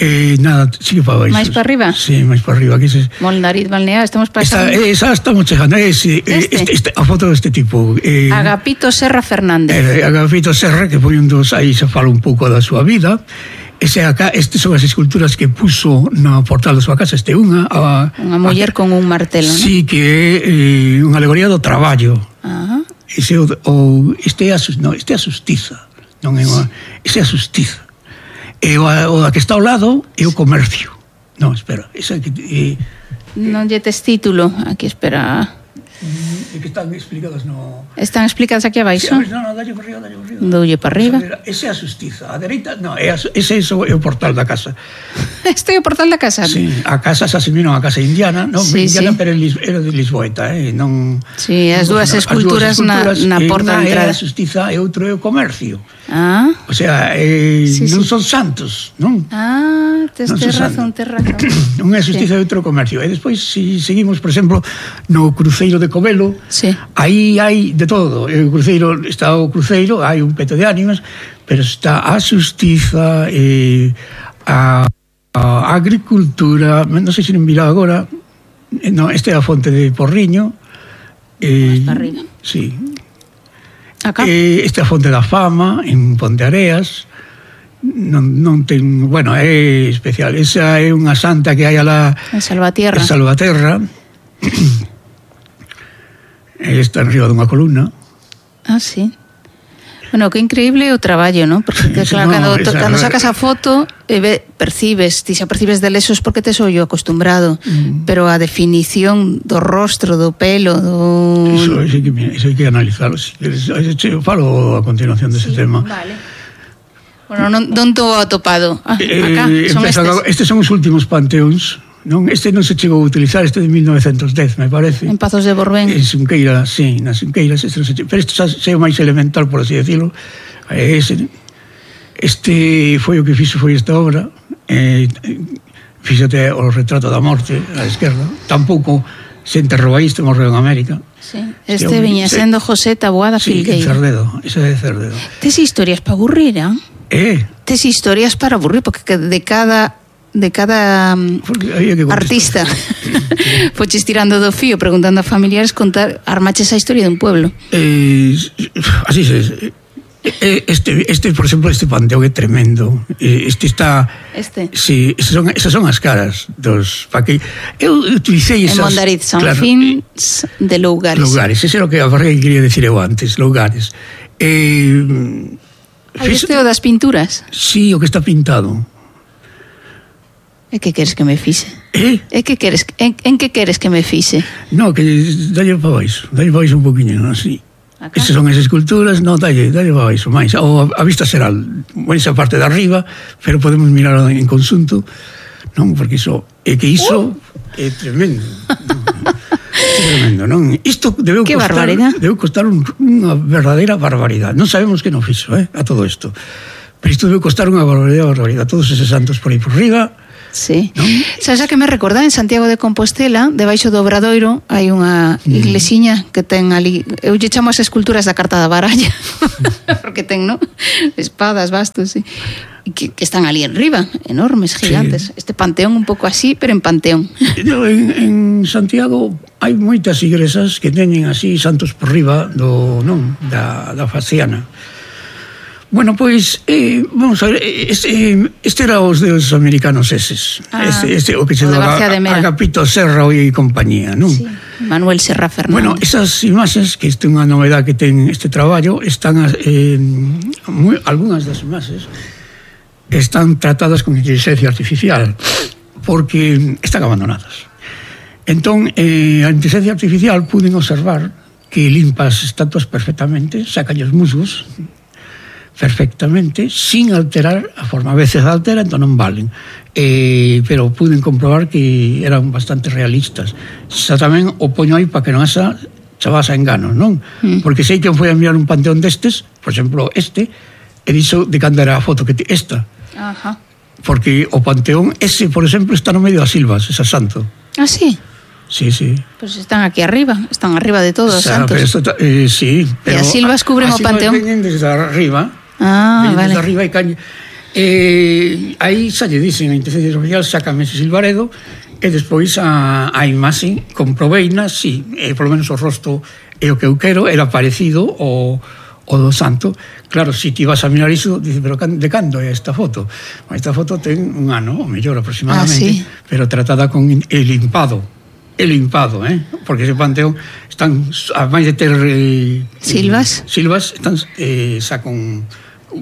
[SPEAKER 1] Eh, nada, sigue para baixo.
[SPEAKER 2] Máis para arriba?
[SPEAKER 1] Sí, máis para arriba. Se...
[SPEAKER 2] Molnariz Balnear, estamos pasando...
[SPEAKER 1] Esa, esa estamos chegando, eh, sí, este? Este, este, a foto deste tipo. Eh,
[SPEAKER 2] Agapito Serra Fernández.
[SPEAKER 1] Eh, Agapito Serra, que foi un dos, aí se fala un pouco da súa vida. Ese acá, este son as esculturas que puso na portal da súa casa, este unha a,
[SPEAKER 2] unha muller a, con un martelo, non?
[SPEAKER 1] Sí, que é eh, unha alegoría do traballo.
[SPEAKER 2] Ah.
[SPEAKER 1] Ese o, o este é a, no, este é a xustiza, non é unha, ese é a xustiza. E o, o que está ao lado é o comercio. Non, espera, esa que eh,
[SPEAKER 2] non lle tes título, aquí espera.
[SPEAKER 1] É que están explicadas no...
[SPEAKER 2] Están explicadas aquí abaixo?
[SPEAKER 1] Sí, non, non, dalle para arriba, dalle para arriba.
[SPEAKER 2] Doulle para arriba.
[SPEAKER 1] Ese é a xustiza, a dereita, non, é a, ese é o portal da casa.
[SPEAKER 2] Este é o portal da casa?
[SPEAKER 1] Sí, a casa se asimilou a casa indiana, non,
[SPEAKER 2] sí,
[SPEAKER 1] indiana,
[SPEAKER 2] sí.
[SPEAKER 1] Pero era de Lisboeta, eh, non...
[SPEAKER 2] Sí, as dúas
[SPEAKER 1] non,
[SPEAKER 2] esculturas, as dúas esculturas na, na porta de entrada.
[SPEAKER 1] É a xustiza e outro é o comercio.
[SPEAKER 2] Ah.
[SPEAKER 1] O sea, eh,
[SPEAKER 2] sí,
[SPEAKER 1] non
[SPEAKER 2] sí.
[SPEAKER 1] son santos, non?
[SPEAKER 2] Ah, tes non razón, tes razón.
[SPEAKER 1] Non é a xustiza sí. E outro comercio. E despois, se si seguimos, por exemplo, no cruceiro de Covelo,
[SPEAKER 2] sí.
[SPEAKER 1] Aí hai de todo. O cruceiro, está o cruceiro, hai un peto de ánimas, pero está a xustiza, eh, a, a agricultura, non sei se non mira agora, no, esta é a fonte de Porriño.
[SPEAKER 2] Eh, para arriba.
[SPEAKER 1] Sí.
[SPEAKER 2] Acá.
[SPEAKER 1] Eh, esta é a fonte da fama, en Ponteareas. Non, non ten, bueno, é especial. Esa é unha santa que hai alá
[SPEAKER 2] en Salvatierra.
[SPEAKER 1] En Salvaterra. Está en riba dunha columna.
[SPEAKER 2] Ah, sí. Bueno, que increíble o traballo, ¿no? Porque que, claro, no, cando, cando sacas a foto e ve, percibes, ti xa percibes de lesos porque tes ollo acostumbrado, mm. pero a definición do rostro, do pelo, do...
[SPEAKER 1] Iso, iso, hai, que, iso hai que analizarlo. Eu falo a continuación dese
[SPEAKER 2] sí,
[SPEAKER 1] tema.
[SPEAKER 2] Vale. Bueno, non, non tô atopado. Ah, acá,
[SPEAKER 1] eh,
[SPEAKER 2] son estes.
[SPEAKER 1] A, estes son os últimos panteóns. Non, este non se chegou a utilizar, este de mil novecentos dez, me parece.
[SPEAKER 2] En Pazos de Borbén.
[SPEAKER 1] En Xunqueira, sí, nas Xunqueiras, este non se chegou, pero este xa é o máis elemental, por así decirlo. Este, este foi o que fixo, foi esta obra. Eh, fíxate o retrato da morte á esquerda. Tampouco se enterrou aí, este morreu en América.
[SPEAKER 2] Sí. Este este viña sendo José Taboada
[SPEAKER 1] sí,
[SPEAKER 2] Filgueira.
[SPEAKER 1] Sí, Cerdedo, ese é Cerdedo.
[SPEAKER 2] Tes historias para aburrir, eh?
[SPEAKER 1] Eh?
[SPEAKER 2] Tes historias para aburrir, porque de cada... de cada artista foches tirando do fío preguntando a familiares contar, armaches a historia dun pueblo.
[SPEAKER 1] Eh, así é. Este, este, por exemplo, este panteón é tremendo. Este está...
[SPEAKER 2] Este?
[SPEAKER 1] Sí, esas son, esas son as caras dos... Pa que eu utilicei esas...
[SPEAKER 2] En Mondariz, San
[SPEAKER 1] claro,
[SPEAKER 2] Fins de Lougares.
[SPEAKER 1] Lougares, ese é o que a barriga quería decir eu antes, Lougares. Eh,
[SPEAKER 2] Aí este o das pinturas?
[SPEAKER 1] Sí, o que está pintado.
[SPEAKER 2] E que queres que me fixe?
[SPEAKER 1] Eh?
[SPEAKER 2] E que queres, en, en que queres que me fixe?
[SPEAKER 1] No, que dalle para baixo, dalle para baixo un poquinho, así.
[SPEAKER 2] Acá?
[SPEAKER 1] Esas son as esculturas, no, dalle, dalle para baixo, máis. Ou a, a vista será, bueno, esa parte de arriba, pero podemos mirar en consunto, non? Porque iso, é que iso uh. é tremendo. Non? É tremendo, non? Isto debeu
[SPEAKER 2] que
[SPEAKER 1] costar, debeu costar un, unha verdadeira barbaridade. Non sabemos que non fixo, eh, a todo isto. pero isto debe costar unha barbaridade, barbaridade, todos eses santos por aí por riba.
[SPEAKER 2] Sí. ¿No? Sabes a que me recorda en Santiago de Compostela, debaixo do Obradoiro, hai unha iglesiña que ten ali, eu lle chamo as esculturas da carta da baralla, porque ten, ¿no? Espadas, bastos, sí. Que, que están ali en riba, enormes, gigantes. Sí. Este panteón un pouco así, pero en panteón.
[SPEAKER 1] En, en Santiago hai moitas igrexas que teñen así santos por riba do, non, da, da faciana. Bueno, pois, eh, vamos a ver, este, este era os deus americanos eses. Ah, este, este, o que se daba Agapito Serra e compañía, non?
[SPEAKER 2] Sí, Manuel Serra Fernández.
[SPEAKER 1] Bueno, esas imaxes, que isto é unha novedade que ten este traballo, están, eh, moi, algunhas das imaxes están tratadas con inteligencia artificial, porque están abandonadas. Entón, eh, a inteligencia artificial puden observar que limpa as estatuas perfectamente, saca os musgos perfectamente, sin alterar a forma. A veces altera, entón non valen. Eh, pero puden comprobar que eran bastante realistas. Xa tamén o poño aí para que non haxa chavas a enganos, non? Mm. Porque sei que foi a enviar un panteón destes, por exemplo, este, e dixo de cando era a foto que te, esta.
[SPEAKER 2] Ajá.
[SPEAKER 1] Porque o panteón ese, por exemplo, está no medio das silvas, esa santo.
[SPEAKER 2] Ah, sí?
[SPEAKER 1] Sí, sí.
[SPEAKER 2] Pues están aquí arriba, están arriba de todos os
[SPEAKER 1] o sea,
[SPEAKER 2] santos.
[SPEAKER 1] Pero esto, eh, sí, pero
[SPEAKER 2] e as silvas cubren o panteón.
[SPEAKER 1] As silvas veñen desde arriba.
[SPEAKER 2] Ah, vale.
[SPEAKER 1] Desde arriba e caña. Eh, aí xa lle dicen a inteligencia artificial, sácame ese silvaredo, e despois a, a imaxe comproveina, si, eh, polo menos o rosto é o que eu quero, era parecido ao, ao do santo. Claro, se ti vas a mirar iso, dice, pero de cando é esta foto? Esta foto ten un ano, ou mellor aproximadamente, ah, sí. Pero tratada con el limpado. El limpado, eh? Porque ese panteón están, a máis de ter eh,
[SPEAKER 2] silvas,
[SPEAKER 1] silvas están eh, xa con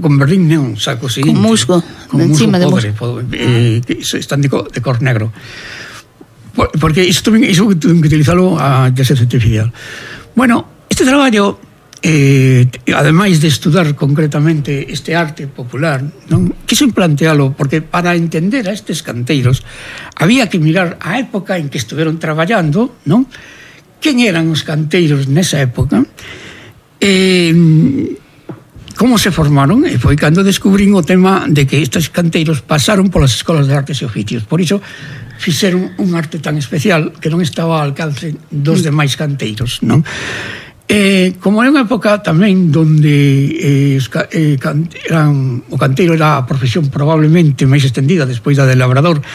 [SPEAKER 1] con verdín, non, xa co seguinte,
[SPEAKER 2] con musgo,
[SPEAKER 1] con musgo podre, podre eh, que están de, co, de cor negro. Por, porque isto iso que tuve que utilizalo a inteligencia artificial. Bueno, este traballo, eh, ademais de estudar concretamente este arte popular, non quixo plantealo, porque para entender a estes canteiros había que mirar a época en que estuveron traballando, non? Quen eran os canteiros nesa época, eh, como se formaron, e foi cando descubrín o tema de que estes canteiros pasaron polas escolas de artes e oficios. Por iso fixeron un arte tan especial que non estaba ao alcance dos demais canteiros, non? Eh, como é unha época tamén donde eh, eh, can, eran, o canteiro era a profesión probablemente máis extendida despois da del labrador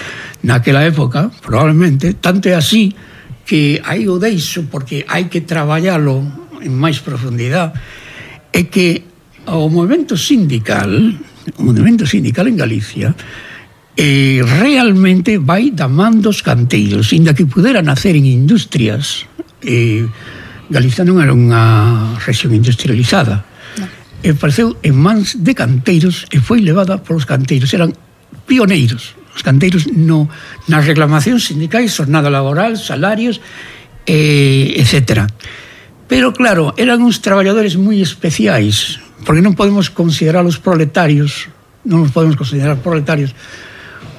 [SPEAKER 1] naquela época, probablemente, tanto é así que aí o deixo porque hai que traballalo en máis profundidade, é que o movimento sindical, o movimento sindical en Galicia eh, realmente vai da man dos canteiros, inda que pudera nacer en industrias. eh, Galicia non era unha rexión industrializada, no. E pareceu en mans de canteiros e foi levada polos canteiros, eran pioneiros os canteiros no, nas reclamacións sindicais, jornada laboral, salarios, eh, etcétera. Pero claro, eran uns traballadores moi especiais, porque non podemos considerar os proletarios, non os podemos considerar proletarios,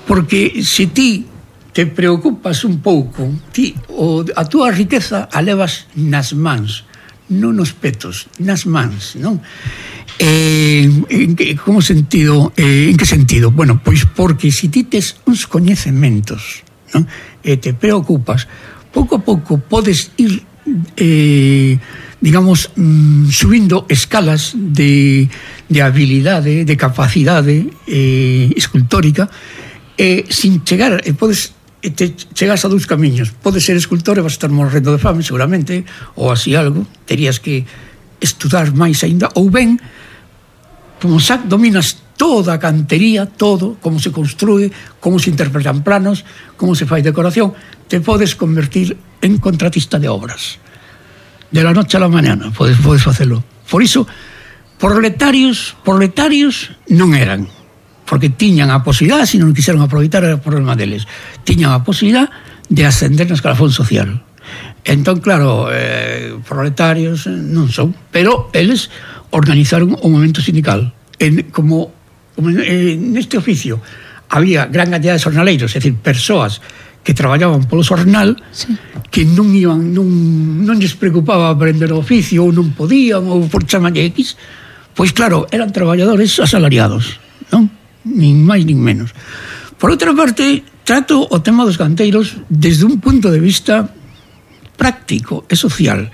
[SPEAKER 1] porque se ti te preocupas un pouco, ti, o, a túa riqueza a levas nas mans, non nos petos, nas mans, non? Eh, en que, como sentido, eh, en que sentido? Bueno, pois porque se ti tes uns coñecementos, non? E te preocupas, pouco a pouco podes ir eh, digamos, mm, subindo escalas de, de habilidade, de capacidade eh, escultórica, e sin chegar, e podes e te chegas a dous camiños. Podes ser escultor e vas estar morrendo de fame seguramente, ou así algo, terías que estudar máis aínda, ou ben como xa dominas toda a cantería, todo, como se construe, como se interpretan planos, como se fai decoración, te podes convertir en contratista de obras de la noche a la mañana, podes, podes facelo. Por iso, proletarios proletarios non eran, porque tiñan a posibilidade, se non quixeron aproveitar era o problema deles, tiñan a posibilidade de ascender na escalafón social. Entón, claro, eh, proletarios non son, pero eles organizaron o movimento sindical. En, como, como eh, neste oficio había gran cantidad de xornaleiros, é dicir, persoas que traballaban polo xornal, sí, que non iban, non, non lles preocupaba aprender o oficio, ou non podían, ou por chamalle X, pois claro, eran traballadores asalariados. nin máis nin menos. Por outra parte, trato o tema dos canteiros desde un punto de vista práctico e social.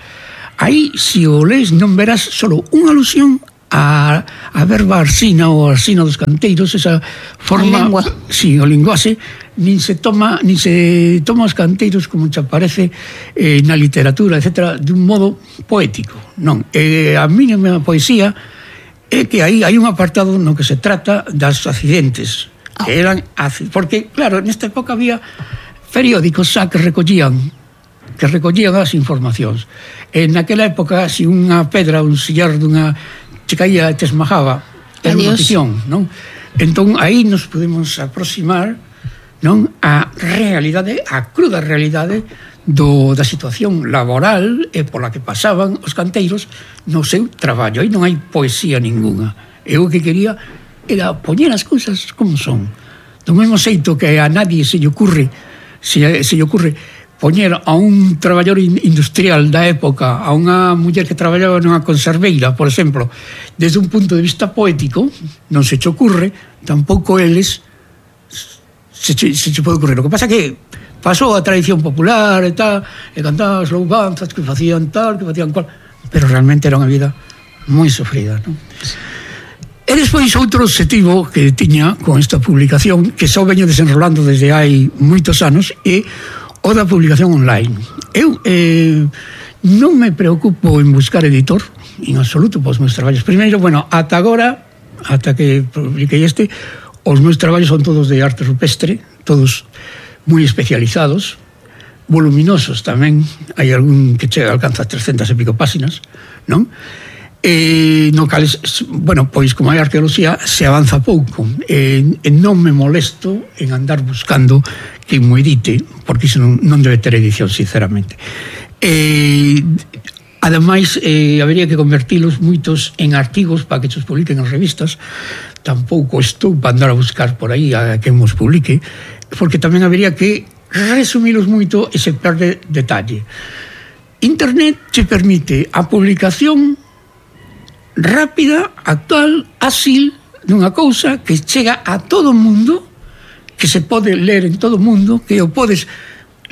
[SPEAKER 1] Aí, se o lees, non verás solo unha alusión a, a verba arsina ou arsina dos canteiros, esa forma, sí, o linguaxe, nin se toma nin se toma os canteiros como te aparece eh, na literatura, etcétera, de un modo poético. Non, eh, a mínima poesía é que aí hai un apartado no que se trata das accidentes, que eran, porque claro, nesta época había periódicos xa que recollían que recollían as informacións. En naquela época, se unha pedra, un sillar dunha che caía e te esmajaba, era unha ficción, non? Entón, aí nos podemos aproximar, non, a realidade, a cruda realidade do, da situación laboral e pola que pasaban os canteiros no seu traballo. Aí non hai poesía ninguna. Eu o que quería era poñer as cousas como son. Do mesmo xeito que a nadie se lle ocurre se, se lle ocurre poñer a un traballador industrial da época, a unha muller que traballaba nunha conserveira, por exemplo, desde un punto de vista poético, non se che ocurre, tampouco eles se che, se che pode ocurrir. O que pasa que pasou a tradición popular e tal, e cantaban as louvanzas que facían tal, que facían cual, pero realmente era unha vida moi sofrida, non? E despois outro objetivo que tiña con esta publicación, que só veño desenrolando desde hai moitos anos, é o da publicación online. Eu eh, non me preocupo en buscar editor, en absoluto, pos meus traballos. Primeiro, bueno, ata agora, ata que publiquei este, os meus traballos son todos de arte rupestre, todos moi especializados, voluminosos tamén, hai algún que chega, alcanza trescentas e pico páxinas, non? Eh, no cales, bueno, pois como hai arqueoloxía se avanza pouco, e, e non me molesto en andar buscando que mo edite, porque iso non, non debe ter edición, sinceramente. Eh, ademais, eh, habería que convertilos moitos en artigos para que os publiquen en revistas. Tampouco estou para andar a buscar por aí a que nos publique, porque tamén habería que resumilos moito e se perde detalle. Internet te permite a publicación rápida, actual, áxil, dunha cousa que chega a todo o mundo, que se pode ler en todo o mundo, que o podes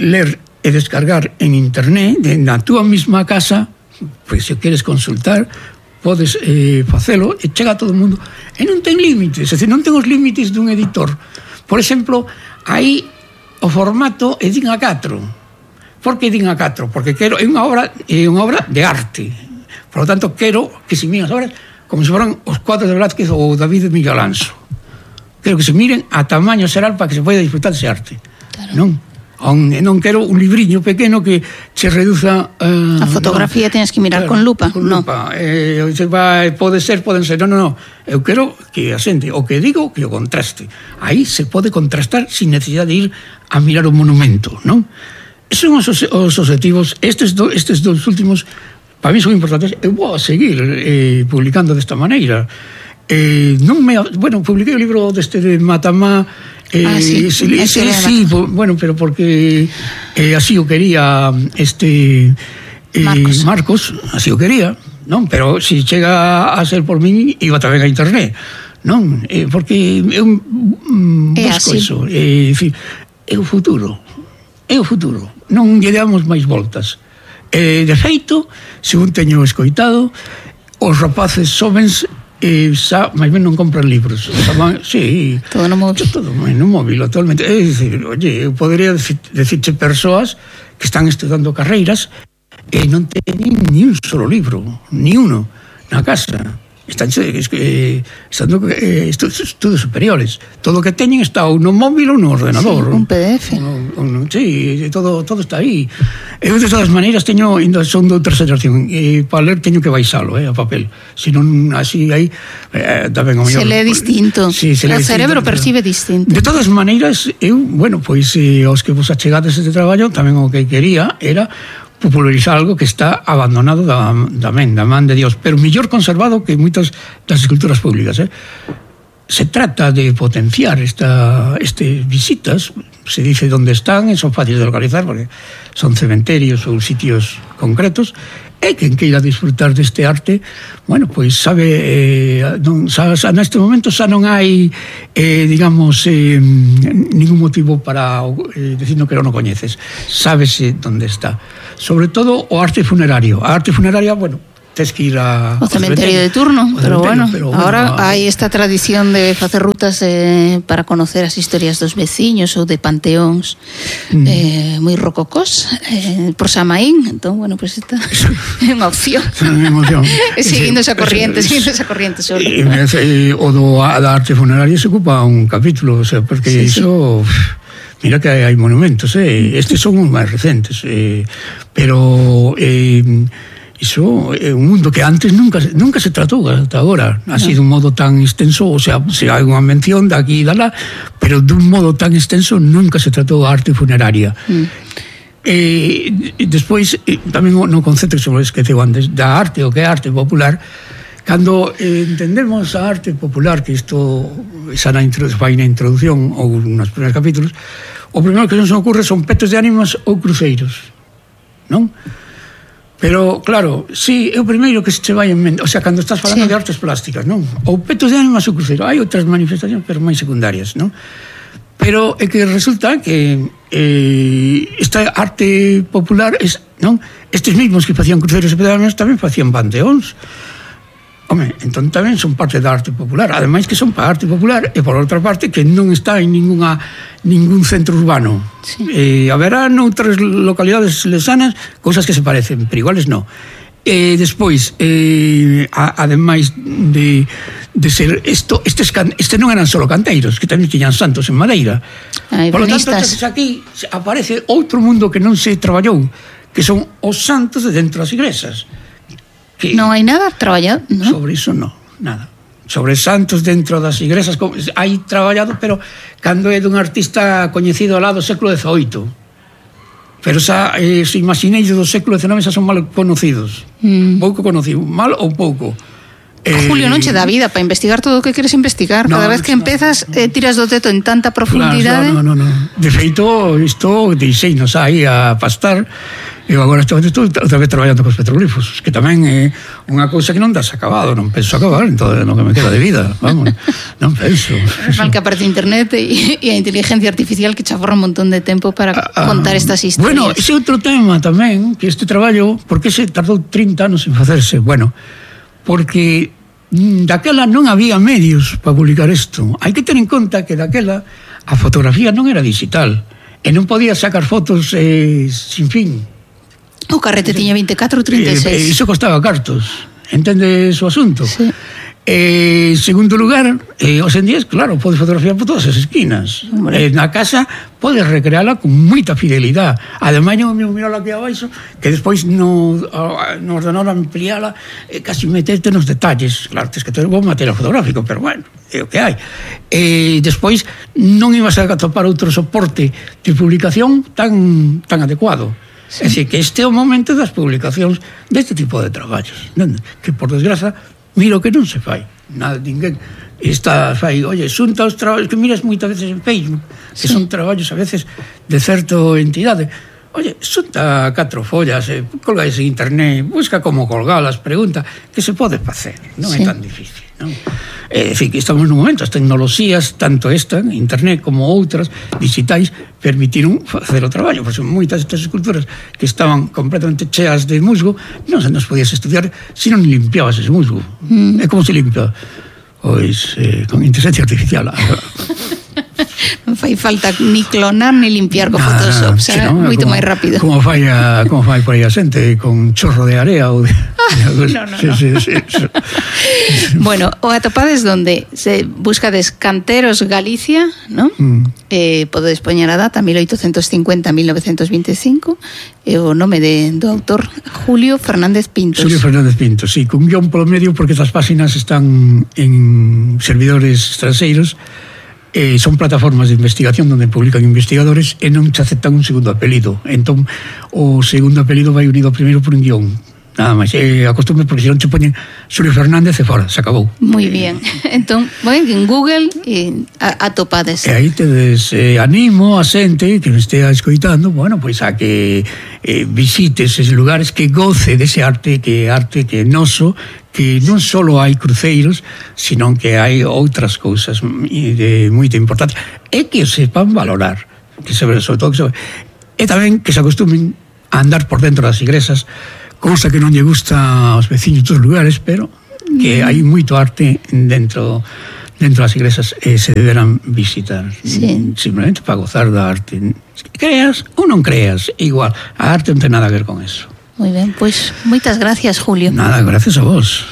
[SPEAKER 1] ler e descargar en internet, na túa mesma casa, pois se queres consultar, podes eh, facelo, e chega a todo o mundo. E non ten límites, é dicir, non ten os límites dun editor. Por exemplo, aí o formato é din A catro. Por que din A catro? Porque quero, é unha obra, é unha obra de arte. Por lo tanto, quero que se miren as obras como se foran os cuadros de Velázquez ou David de Miguel Alonso. Quero que se miren a tamaño xeral para que se poida disfrutar dese arte. Claro. Non? Non quero un libriño pequeno que se reduza... Uh,
[SPEAKER 2] a fotografía no, tens que mirar claro, con lupa.
[SPEAKER 1] Con no. lupa. Eh, se va, pode ser, poden ser. Non, non, non. Eu quero que a xente, o que digo, que o contraste. Aí se pode contrastar sin necesidade de ir a mirar o monumento, non? Esos son os, os objetivos. Estes, do, estes dos últimos... para mí son importantes. Eu vou a seguir eh, publicando desta maneira. Eh, non me, bueno, publiquei o libro deste de Matamá, eh,
[SPEAKER 2] ah, sí,
[SPEAKER 1] sí, sí, sí, bueno, pero porque eh, así o quería este eh, Marcos. Marcos, así o quería, non? Pero se si chega a ser por min, iba tamén a internet, non? Eh, porque eu um, busco eso, eh, é o futuro, é o futuro, non lle damos máis voltas. Eh, de feito, según teño escoitado, os rapaces xovens eh, xa, máis ben non compran libros. Xa, sí,
[SPEAKER 2] todo no móvil.
[SPEAKER 1] Todo no móvil, actualmente. É dicir, oye, eu podría decir, decirche persoas que están estudando carreiras e non teñen ni un solo libro, ni uno, na casa. Están eh, estando eh, estudos, estudos superiores. Todo o que teñen está ou no móvil ou no ordenador.
[SPEAKER 2] Sí, un P D F.
[SPEAKER 1] O, o, sí, todo, todo está aí. Eu, de todas maneiras, teño, son de outra xeración, e para ler teño que baixalo, eh, a papel. Se non, así, aí, eh, tamén o mellor.
[SPEAKER 2] Se lee distinto. Sí, se lee o distinto, cerebro percibe distinto.
[SPEAKER 1] De todas maneiras, eu, bueno, pois, eh, aos que vos achegades este traballo, tamén o que quería era popularizar algo que está abandonado da, da men, da man de Dios, pero mellor conservado que moitas das esculturas públicas. Eh? Se trata de potenciar esta, este visitas, se dice onde están, e son fáciles de localizar, porque son cementerios ou sitios concretos, e quen queira disfrutar deste arte, bueno, pois sabe, eh, non, xa, xa, neste momento xa non hai, eh, digamos, eh, ningún motivo para eh, dicindo que non o coñeces, sábese onde está. Sobre todo o arte funerario. A arte funeraria, bueno, tes que ir a...
[SPEAKER 2] O cementerio de turno, pero bueno, pero, ahora bueno, hai esta tradición de facer rutas eh, para conocer as historias dos veciños ou de panteóns mm. eh, moi rococós eh, por Samaín, entón, bueno, pues esta é unha opción.
[SPEAKER 1] É unha opción.
[SPEAKER 2] Seguindo esa corriente, seguindo esa corriente solo.
[SPEAKER 1] E, e, o do, a, da arte funeraria se ocupa un capítulo, o sea, porque sí, iso... Sí. Mira que hai monumentos, eh? Estes son os máis recentes, eh, pero... Eh, iso é un mundo que antes nunca, nunca se tratou hasta agora, ha sido un modo tan extenso, o sea, se hai unha mención de aquí e de lá, pero dun modo tan extenso nunca se tratou a arte funeraria. Mm. E, e despois, e, tamén no concepto que se me esqueceu antes, da arte, o que é arte popular, cando eh, entendemos a arte popular, que isto xa na, vai na introducción ou nos primeiros capítulos, o primeiro que nos ocurre son petos de ánimas ou cruceiros, non? Pero, claro, sí, é o primeiro que se che vai en mente, o sea, cando estás falando sí. de artes plásticas, non? Ou petos de ánimas ou cruceiro, hai outras manifestacións, pero máis secundarias, non? Pero é que resulta que eh, esta arte popular, es, non? Estes mismos que facían cruceiros e petos de ánimas tamén facían panteóns. Home, entón tamén son parte da arte popular, ademais que son para arte popular e por outra parte que non está en ninguna ningún centro urbano. Sí. Eh, haberá noutras localidades lesanas cousas que se parecen, pero iguales non. E despois, eh, a, ademais de, de ser isto, estes, este non eran solo canteiros, que tamén tiñan santos en madeira.
[SPEAKER 2] Ay,
[SPEAKER 1] por lo tanto, aquí aparece outro mundo que non se traballou, que son os santos de dentro das igrexas. Que
[SPEAKER 2] non hai nada traballado, non?
[SPEAKER 1] Sobre iso non, nada. Sobre santos dentro das igrexas hai traballado, pero cando é dun artista coñecido lá do século dezoito. Pero xa, eh, se imaginei do século dezenove xa son mal conocidos. Mm. Pouco conocido, mal ou pouco.
[SPEAKER 2] Eh, Julio, non che dá vida para investigar todo o que queres investigar. Cada no, vez que empezas, eh, tiras do teto en tanta profundidade.
[SPEAKER 1] Claro, no, no, no. De feito, isto deixeinos aí a pastar. Eu agora estou, estou outra vez traballando cos petroglifos, que tamén é unha cousa que non das acabado, non penso acabar en todo o que me queda de vida, vamos, non penso.
[SPEAKER 2] Mal que aparte internet e, e a inteligencia artificial que chaforra un montón de tempo para ah, contar estas historias.
[SPEAKER 1] Bueno, ese outro tema tamén, que este traballo, por que se tardou trinta anos en facerse? Bueno, porque daquela non había medios para publicar isto. Hai que ter en conta que daquela a fotografía non era digital e non podía sacar fotos eh, sin fin.
[SPEAKER 2] O carrete tiña veinticuatro ou trinta e seis.
[SPEAKER 1] Eh, iso costaba cartos. Entendes o asunto?
[SPEAKER 2] Sí.
[SPEAKER 1] Eh, segundo lugar, eh, os en días, claro, podes fotografiar por todas as esquinas. Eh, na casa podes recreala con moita fidelidade. Ademais, eu me mirala aquí abaixo, que despois no, no ordenador ampliala e eh, casi meterte nos detalles. Claro, tens que ter bom material fotográfico, pero bueno, é o que hai. E eh, despois non ibas a atopar outro soporte de publicación tan, tan adecuado. Sí. É dicir, que este é o momento das publicacións deste tipo de traballos, entende? Que, por desgraza, mira o que non se fai. Nada, ninguén está, fai, oye, xunta os traballos que miras moitas veces en Facebook, que sí. son traballos a veces de certa entidade. Oye, xunta catro follas, eh, colgáis en internet, busca como colgalas, pregunta, que se pode facer, non sí. é tan difícil, non? É dicir, que estamos nun momento, as tecnoloxías, tanto esta, internet, como outras, digitais, permitiron facer o traballo, porque son moitas destas esculturas que estaban completamente cheas de musgo, non se nos podías estudiar se non limpiabas ese musgo. Mm. É como se limpia? Pois, eh, con inteligencia artificial.
[SPEAKER 2] Non fai falta ni clonar ni limpiar con Photoshop, será no, moito máis rápido.
[SPEAKER 1] Como fai a, como fai por aí a xente con chorro de area ou de,
[SPEAKER 2] ah, de no, no, sí, no. Sí, sí, sí. Bueno, o atopades donde se buscades Canteros Galicia, ¿no? Mm. Eh, podedes poñer a data mil oitocentos cincuenta a mil novecentos veinticinco e o nome de, do autor Julio Fernández Pintos.
[SPEAKER 1] Julio Fernández Pintos, sí, con guión polo medio porque estas páxinas están en servidores extranxeiros. Eh, son plataformas de investigación onde publican investigadores e non se aceptan un segundo apelido. Entón, o segundo apelido vai unido primeiro por un guión. nada máis. E acostume porque se non che poñen Xulio Fernández e fora, se acabou.
[SPEAKER 2] Moi bien. Entón, bueno, en Google eh, atopades.
[SPEAKER 1] E aí tedes eh, animo a xente que me estea escoitando, bueno, pois a que eh, visites eses lugares, que goce dese arte, que arte que é noso, que non só hai cruceiros, sino que hai outras cousas de moita importancia, e que se sepan valorar, que se, sobre todo que se, e tamén que se acostumen a andar por dentro das igrexas, cousa que non lle gusta aos veciños dos lugares, pero que hai moito arte dentro dentro das iglesias e se deberán visitar,
[SPEAKER 2] sí.
[SPEAKER 1] Simplemente para gozar da arte. Creas ou non creas, igual, a arte non ten nada a ver con eso.
[SPEAKER 2] Moi ben, pois moitas gracias, Julio.
[SPEAKER 1] Nada, gracias a vos.